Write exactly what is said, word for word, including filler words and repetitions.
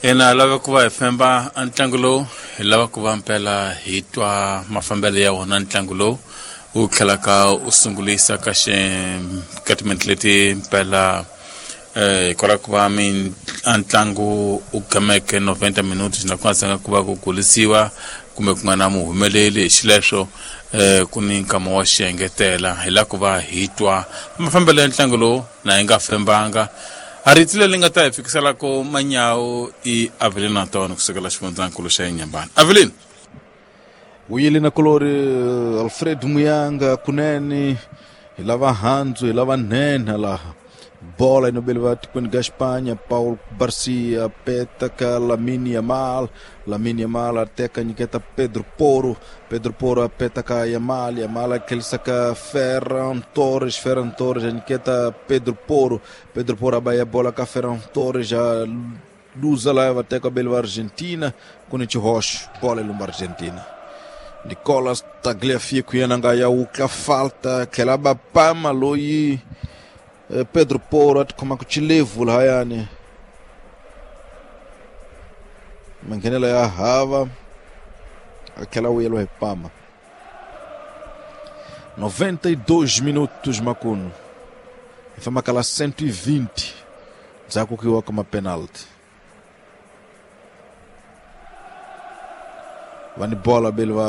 Ina lava ku va hi femba a ntlangu lowu, hi lava ku va mpela hi twa mafambelo ya wona ntlangu lowu wu tlhelaka u sungulisa ka xi ka timinete leti mpela eh hikwalaho ku va mi a ntlangu u gameke noventa minutos na ku nga zanga ku va ku gulisiwa kumbe ku nga na muhumeleli hi xileswo eh ku ni nkama wa xiengetela. Hi lava ku va hi twa mafambelo ya ntlangu lowu na hi nga fembanga. A rito leri nga ta hi fikisela ko manyawu i Avelino Antônio kusukela xifundzankulu xa Inhambane. Avelino. Vuyile na kulori Alfred Muyanga kunene hi lava handzu hi lava nhenha laha. Bola inobeliwa tikweni ga Espanha, Paulo Garcia peta ka Lamine Yamal, Lamine Yamal ateka nyiketa Pedro Porro, Pedro Porro apeta ka Yamal, Yamal akelisa ka Ferran Torres, Ferran Torres anyiketa Pedro Porro, Pedro Porro abaya bola ka Ferran Torres, a luza lá vateka beliwa Argentina, kuni Chihosh, bola ilumba Argentina. Nicolas Tagliafico yena nga ya ukla falta, tlhela pama loyi Pedro Porro atikhoma ku chilevu lahayani. Manghenelo ya hava a tlhela vuyeliwa hi pama. noventa e dois minutos makuno. Hi famba kala cento e vinte ndzhaku ku yiwa ka mapenalty. Va ni bola beli va